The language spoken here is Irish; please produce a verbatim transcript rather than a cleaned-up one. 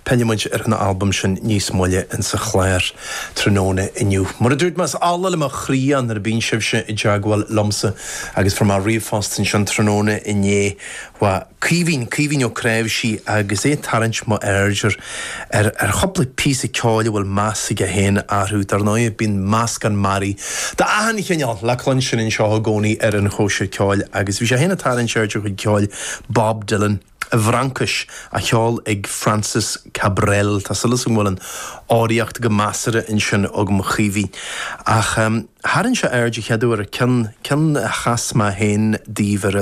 Pillfidh muid ar an albam sin níos moille in sa chlár tráthnóna inniu. Mar a dúirt mé is ola le mo chroí é nuair a bhíonn sibhse i dteagmháil liomsa agus fuair mé ríomhphost ansin tráthnóna inné ó Caoimhín Caoimhín Ó Cnáimhsí agus é ag tarraingt m'aird ar ar ar chúpla píosa ceoil a bhfuil meas aige féin orthu dar ndóigh bíonn meascán mearaí d'achan chineál le cluinstin anseo i gcónaí ar an chóisir ceoil agus bhí sé féin ag tarraingt aird ar chuid ceoil Bob Dylan. i bhFraincis á cheol ag Francis Cabrel Tá súil agam go bhfuil an fhoghraíocht go measartha ansin agam Caoimhín ach um, tharraing sé aird an chéad uair ceann ceann a chas mé féin daoibh ar